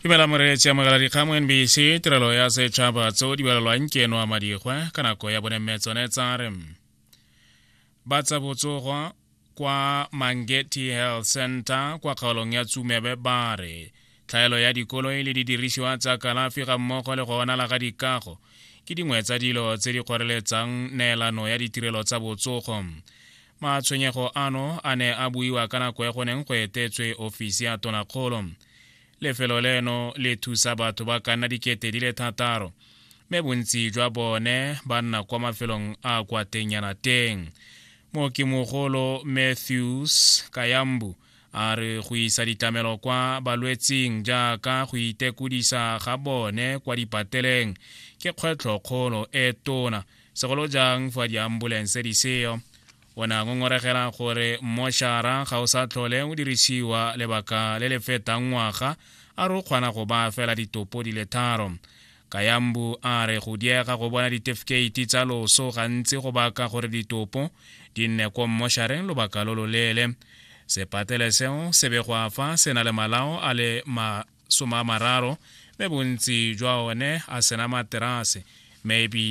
Dumela moreetsi, amogela dikgang mo NBC, tirelo ya setšhaba tseo di balelwang ke eno a madigwe ka nako ya bone, mme tsone tsa re ba tsa botsogo kwa Mangetti Health Center kwa kgaolong ya Tsumebe ba re tlhaelo ya dikoloi le didirisiwa tsa kalafi ga mmogo le go onala ga dikago ke dingwe tsa dilo tse di kgoreletsang neelano ya ditirelo tsa botsogo. Matshwenyego ano a ne a buiwa ka nako e go neng go etetswe ofisi ya tonakgolo. Lefelo leno le thusa batho ba ka nna 6000, mme bontsi jwa bone ba nna kwa mafelong a kwa tengnyana teng. Mookimogolo Matthews Kayambu a re go isa ditlamelo kwa balwetsing jaaka go itekodisa ga bone kwa dipateleng ke kgwetlhokgolo e tona, segolo jang fa diambulense di seyo. O ne a ngongoregela gore mmošara ga o sa tlhole o dirisiwa lebaka le le fetang ngwaga, a re o kgona go baya fela ditopo di le tharo. Kayambu a re go diega go bona ditefikeiti tsa loso gantsi go baka gore ditopo di nne ko mmošareng lobaka lo loleele. Sepatele seo se begwa fa se na le malao a le 30, mme bontsi jwa one a sena materase, mme.